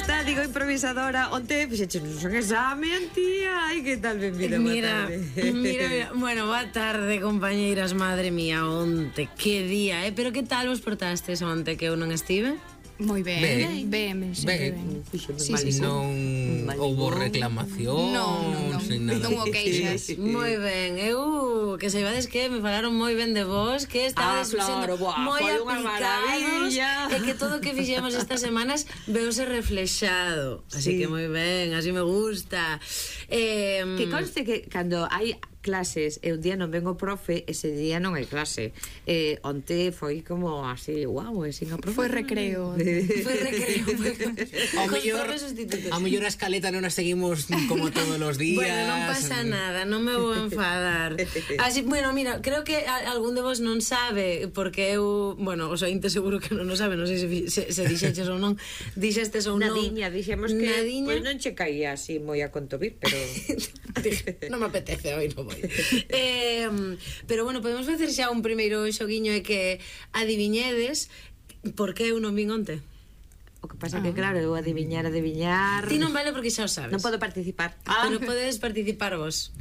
está, digo improvisadora. Onte fixeches un exame, tía. Ai, que tal, benvida, boa tarde. Mira, bueno, boa tarde, compañeiras, madre mía, onte, que día, pero que tal vos portastes onte que eu non estive? Moi ben, ben, sempre ben. Non houbo reclamación, non houbo queixas. Moi ben, eu que saibades que me falaron moi ben de vos, que estades claro, moi foi unha aplicados maravilla. e que todo o que fixemos estas semanas veuse reflexado. Así que moi ben, así me gusta. Que conste que cando hai clases e un día non vengo profe, ese día non hai clase. Onte foi como así, guau, sin a profe. Foi recreo. Foi recreo. A mellor a escaleta non a seguimos como todos os días. Bueno, non pasa nada, non me vou enfadar. Así, bueno, mira, creo que algún de vos non sabe, porque eu, bueno, os ointes seguro que non o sabe, non sei se dixeches ou non, dixestes ou non. Nadiña, dixemos que pois non che caía así moi a contovir, pero non me apetece hoy, non vou. Pero bueno, podemos facer xa un primeiro xoguiño e que adiviñedes por que eu non vin onte. O que pasa que claro, eu adiviñar Ti non vale porque xa o sabes. Non podo participar. Pero podedes participar vos.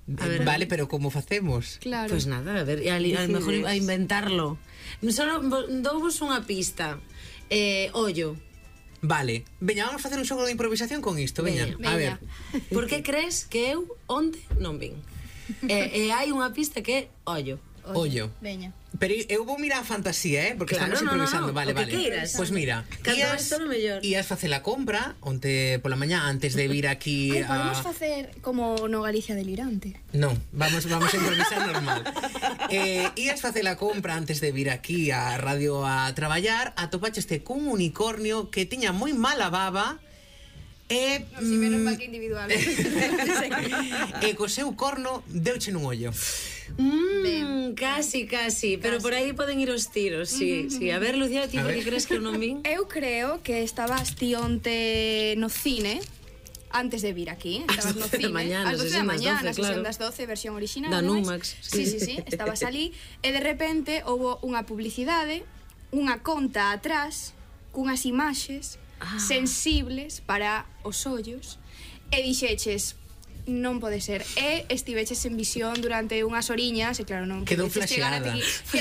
Vale, pero como facemos? Claro. Pois nada, a ver, a mejor a inventarlo. Solo douvos unha pista. Ollo. Vale, veña, vamos a facer un xogo de improvisación con isto, veña. A ver. Por que crees que eu onte non vin? E hai unha pista que é ollo. Ollo. Veña. Pero eu vou mirar a fantasía, porque claro, estamos improvisando. Vale, o que queiras. Pois mira, ías facer a compra onte pola mañá antes de vir aquí a... podemos facer como no Galicia delirante. Non, vamos a improvisar normal. Ías facer a compra antes de vir aquí a radio a traballar, atopacheste cun unicornio que tiña moi mala baba e si menos mal que individual. E co seu corno deuche nun ollo. Casi, pero por aí poden ir os tiros, sí. A ver, Lucía, ti por que crees que eu non vin? Eu creo que estabas ti onte no cine antes de vir aquí, estabas no cine ás 12 da mañá, na sesión das 12, versión original da Numax. Sí, estabas ali e de repente houbo unha publicidade, unha conta atrás cunhas imaxes sensibles para os ollos e dixeches non pode ser, e estiveches en visión durante unhas horiñas e claro, non quedou pudeches chegar flasheada. ata aquí.